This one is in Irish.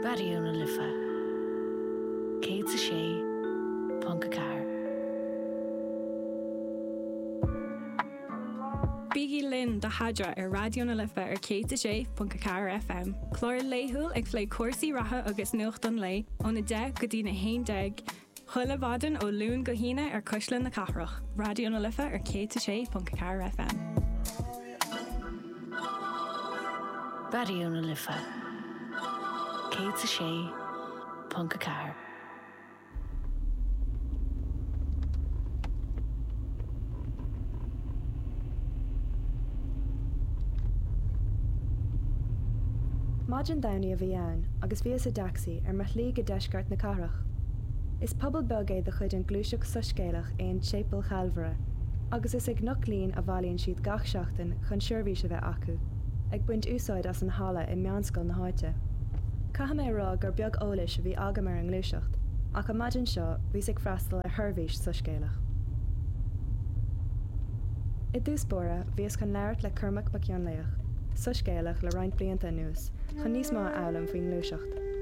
Raidió na Life 106.4. Bígí linn do Theadra ar Raidió na Life ar 106.4 FM, clár laethúil ag plé cúrsaí reatha agus nuacht an lae ón 10 go dtí na 11 Chuile mhaidin ó Luan go hAoine ar Cuisle na Cathrach, Raidió na Life ar 106.4 FM. Raidió na Life 106.4. Maidin Domhnaigh a bhí ann agus bhíos i dtacsaí ar mo shlí go deisceart na cathrach. Is pobal beag é de chuid an Gluaiseacht Soiscéalach é an tSéipéal Chalvaire, agus is i gCnoc Lín a bhailíonn siad gach seachtain chun seirbhís a bheith acu, ag baint úsáid as an halla i meánscoil na háite. Caithfidh mé a rá gur beag eolais a bhí agam ar an ngluaiseacht, ach an maidin seo bhíos ag freastal ar sheirbhís soiscéalach. I dtús báire, bhíos chun labhairt le Cormac Mac Fhionnlaoich, soiscéalach le roinnt blianta anuas, chun níos mó a fhoghlaim faoin ngluaiseacht.